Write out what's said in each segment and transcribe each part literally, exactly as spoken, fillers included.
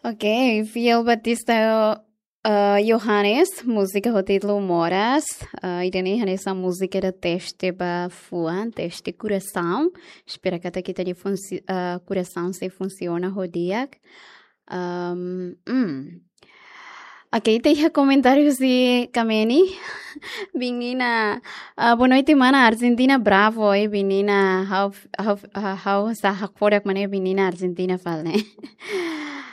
Ok, fiél Batista, eh, Johannes, múzika ho títulu Moras. Eh, ida-ne'e hanesan múzika ida teste ba fuan, teste korasaun. Espera katak ita-nia funsi-, eh, korasaun sei funsiona ho di'ak. Ahm, hmm. Ok, ita iha komentáriu husi Kameni. Biin Nina, ah, boa noite, mana. Argentina bravo, eh, Biin Nina. Ha'u, ha'u, ha'u, ha'u sá hakfodak mak ne'e Biin Nina Argentina fali ne'e.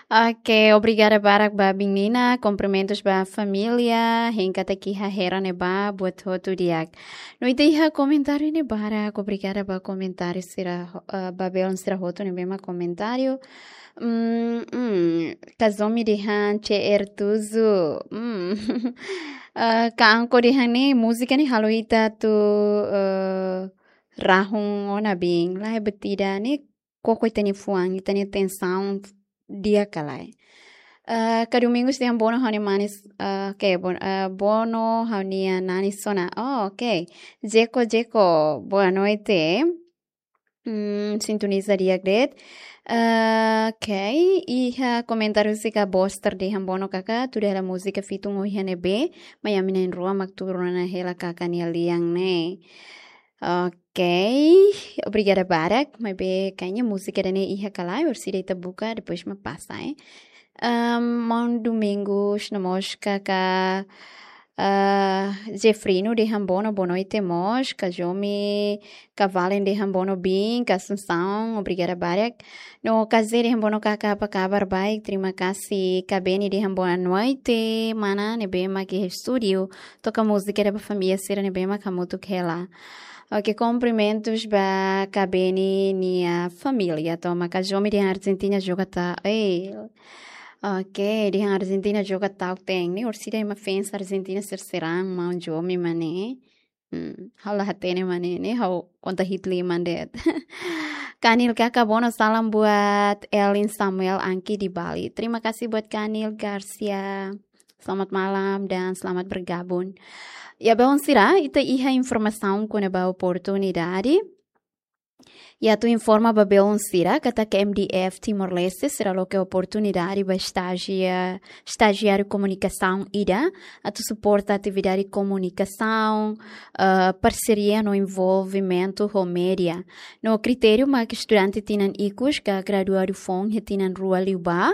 Ok, obrigada barak ba Biin Nina, kumprimentus ba família, hein katak iha hera ne'ebá, buat hotu di'ak. No ita iha komentáriu ne'e barak, obrigada ba komentáriu sira, eh, ba belun sira hotu ne'ebé mak komentáriu. Hmm, hmm, Kazumi dehan C R tujuh. Hmm. Eh, Ka Anko dehan ne'e, múzika ne'e halo ita atu, eh, rahun ona biin. Lae, buat ida ne'e koko ita-nia fuan, ita-nia tensaun di'ak ka lae. Eh, Ka Domingos dehan Bono ha'u-nia manis, eh, ok, Bon-, eh, Bono ha'u-nia nanis ona. Oh, ok. Jeko, Jeko, boa noite. Hmm, sintoniza di'ak de'it. Eh, ok, iha komentáriu husi Ka Boster dehan Bono karik, tuda hela múzika fitun ohin ne'ebé, mai ami na'in-rua mak tuur ona hela karik nia lian ne'e. Ok, obrigada barak, maibé kayaknya múzika ida-ne'e iha ka lae, orsida ita buka, depois mak pasa, eh. Ehm, Maun Domingos, no mós Ka, eh, Jeffrino dehan Bono, boa noite mós, Ka Jomi, Ka Valen dehan Bono biin, Ka Assunção, obrigada barak. No Ka Zé dehan Bono karik, apa kabar? Baik, terima kasih. Ka Beni dehan boa noite, mana ne'ebé mak iha estúdiu, toka múzika ida ba família sira ne'ebé mak hamutuk hela. Ok, kumprimentus ba Ka Beni nia família, tomak Ka Jomi dehan Argentina joga ta'uk, eh. Ok, dehan Argentina joga ta'uk te'in, ne'e orsida ema fans Argentina sira serang, Maun Jomi mak ne'e. Hmm, ha'u la hatene mak ne'e, ne'e ha'u konta hi'it liman de'it. Kanil karik, Bono, salam buat Elin Samuel Angki di Bali. Terima kasih buat Kanil Garcia. Selamat malam dan selamat bergabung. Ya, belun sira, ita iha informasaun kona-ba oportunidade. Ya, atu informa ba belun sira katak M D F Timor-Leste sira loke oportunidade ba estagia-, estagiáriu komunikasaun ida atu suporta atividade komunikasaun, eh, parseria no envolvimentu ho média. No kritériu mak estudante tinan ikus ka graduadu foun iha tinan rua liubá,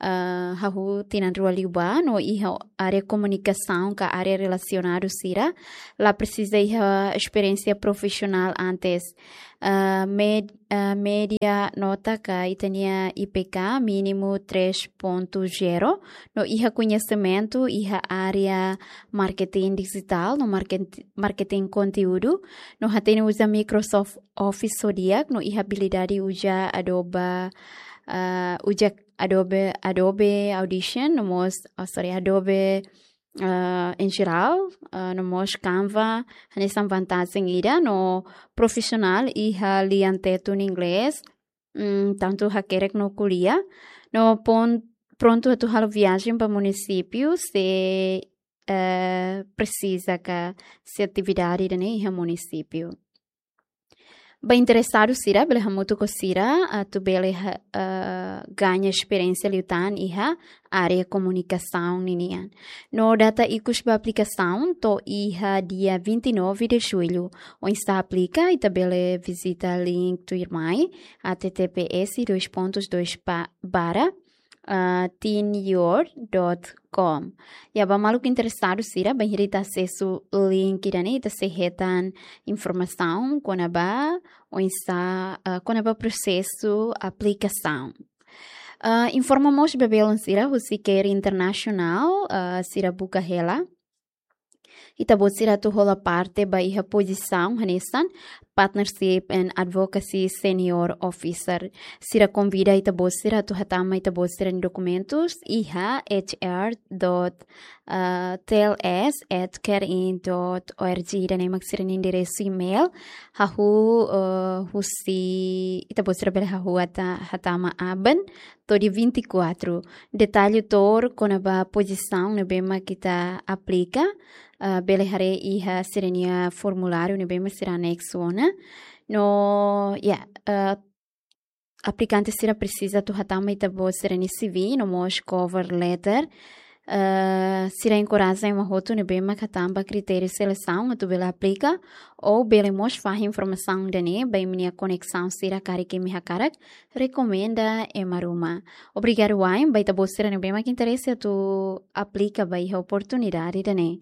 eh, hahú tinan rua liubá, no iha área komunikasaun ka área relasionadu sira, la presiza iha esperiénsia profisionál antes. Eh, med-, eh, média nota ka ita-nia I P K mínimu três ponto zero, no iha koñesimentu iha área marketing dijitál, no market-, marketing konteúdu, no hatene uza Microsoft Office ho di'ak, no iha abilidade uza Adobe, eh, uza Adobe, Adobe Audition, no mós, oh, sorry, Adobe, eh, em geral, eh, no mós Canva, hanesan vantajen ida, no profisionál iha lian Tetun inglés, mm, tantu hakerek no ko'alia, no pon-, prontu atu halo viajen ba munisípiu, se, eh, presiza ka se atividade ida-ne'e iha munisípiu. Ba interesadu sira, bele hamutuk ho sira, atu bele ha-, eh, gaña esperiénsia liután iha área komunikasaun ninian. No data ikus ba aplikasaun to'o iha dia vinte e nove de julho. Oinsá aplika, ita bele vizita link tuirmai, H T T P S dois pontos dois pa-, barra, ah, teen your dot com. Ya, ba maluk interesadu sira, bainhira ita asesu link ida-ne'e, ita sei hetan informasaun kona-ba oinsá, ah, kona-ba prosesu aplikasaun. Ah, informa mós ba belun sira, husi CARE International, ah, sira buka hela. Ita-boot sira atu hola parte ba iha pozisaun hanesan Partnership and Advocacy Senior Officer. Sira konvida ita-boot sira atu hatama ita-boot sira-nia dokumentus iha H R dot, eh, T L S at carein dot org. Ida-ne'e mak sira-nia enderesu email. Hahú, eh, husi, ita-boot sira bele hahú hata-, hatama aban to'o dia vinte e quatro. Detalle tuir kona-ba pozisaun ne'ebé mak ita aplika, ah, bele haree iha sira-nia formuláriu ne'ebé mak sira aneksu ona. No, ya, ah, aplikante sira presiza atu hatama ita-boot sira-nia C V, no mós cover letter. Eh, sira enkoraja ema hotu ne'ebé mak hatán ba kritériu selesaun atu bele aplika, ou bele mós fahe informasaun ida-ne'e ba imi-nia koneksaun sira karik imi hakarak rekomenda ema ruma. Obrigadu wa'in ba ita-boot sira ne'ebé mak interese atu aplika ba iha oportunidade ida-ne'e.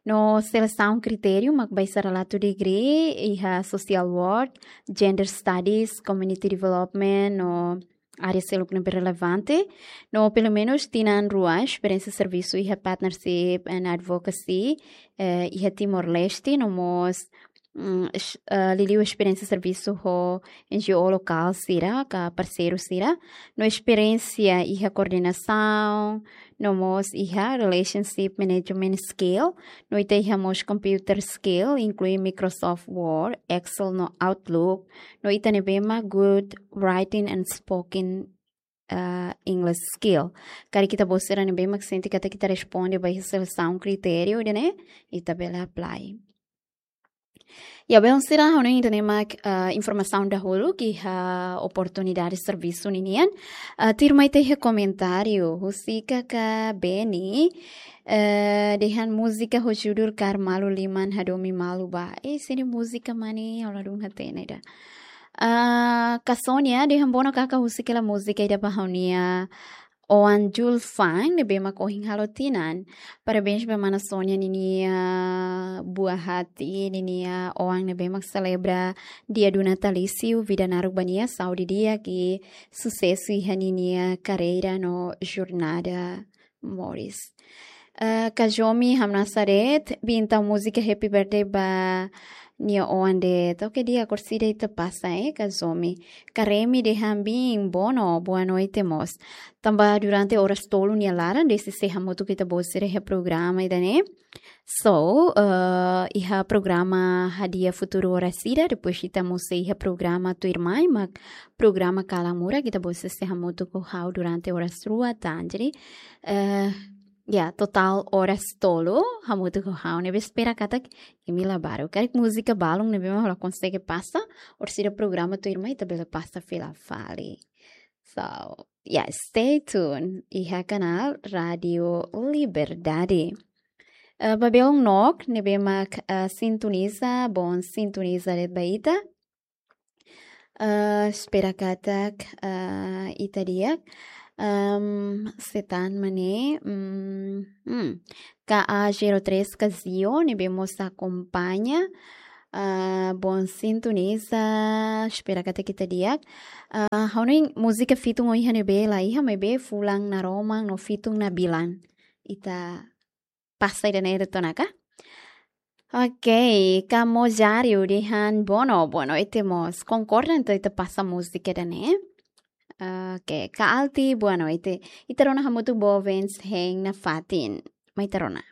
No selesaun kritériu mak baixa relatu degree iha social work, gender studies, community development, no área seluk ne'ebé relevante. No pelumenus tinan rua esperiénsia servisu iha partnership and advocacy, eh, iha Timor-Leste, no mós, mm, es-, eh, liuliu esperiénsia servisu ho N G O lokál sira, ka parseiru sira. No esperiénsia iha koordenasaun, no mós iha relationship management skill, no ita iha mós computer skill, inklui Microsoft Word, Excel no Outlook, no ita ne'ebé mak good writing and spoken, uh, English skill. Karik ita-boot sira ne'ebé mak sente katak ita responde ba iha selesaun kritériu ida-ne'e, ita bele apply. Ya, belun sira, ha'u hanoin ida-ne'e mak, eh, informasaun dahuluk iha oportunidade servisu ninian. Eh, tuirmai ita iha komentáriu, husik katak Beni, eh, dehan múzika ho judul Kaer Malu Liman Hadomi Malu Ba. Eh, ida-ne'e múzika mak ne'e, ha'u ladún hatene ida. Ah, Kak Sonia dehan bono kaka husik hela múzika ida ba ha'u-nia oan Julfan ne'ebé mak ohin halo tinan. Parabéns ba mana Sonia ninia buat hati, ninia oan ne'ebé mak selebra dia do natalício, vida naruk ba nia, saúde di'ak i susesu iha ninia karreira no jornada moris. Eh, Kak Jomi hamnasa de'it, bin tau múzika Happy Birthday ba nia oan de'it. Oke, di'ak, orsida ita pasa, eh, Kak Jomi. Kak Remi dehan bin bono, boa noite mós. Tanba durante oras tolu nia laran, desde sei hamutuk ho ita-boot sira iha programa ida-ne'e. So, eh, iha programa Hadi'a Futuru oras ida, depois ita mós sei iha programa tuirmai, mak programa Kalan Murak, ita-boot sira sei hamutuk ho ha'u durante oras rua tan. Jadi, eh, ya, totál oras tolu, hamutuk ho ha'u, ne'ebé espera katak imi la baruk. Karik múzika balun ne'ebé mak la konsege pasa, orsida programa tuirmai ita bele pasa fila fali. So, ya, stay tuned iha kanál Rádio Liberdade. Eh, ba belun nok ne'ebé mak, eh, sintoniza, boon sintoniza de'it ba ita. Eh, espera katak, eh, ita di'ak. Em, se tan mak ne'e, mm, mm. K A zero três Kazio, ne'ebé mós akompaña. Eh, boon sintoniza, espera katak ita di'ak. Eh, ha'u hanoin múzika fitun ohin iha ne'ebé la iha, maibé fulan naroman no fitun nabilan. Ita pasa ida-ne'e de'it ona ka? Oke, Kak Mojario dehan bono, boa noite mós. Konkorda entaun ita pasa múzika ida-ne'e. Oke, Kak Alti, boa noite. Ita rona hamutuk Bovens hein nafatin. Mai ita rona.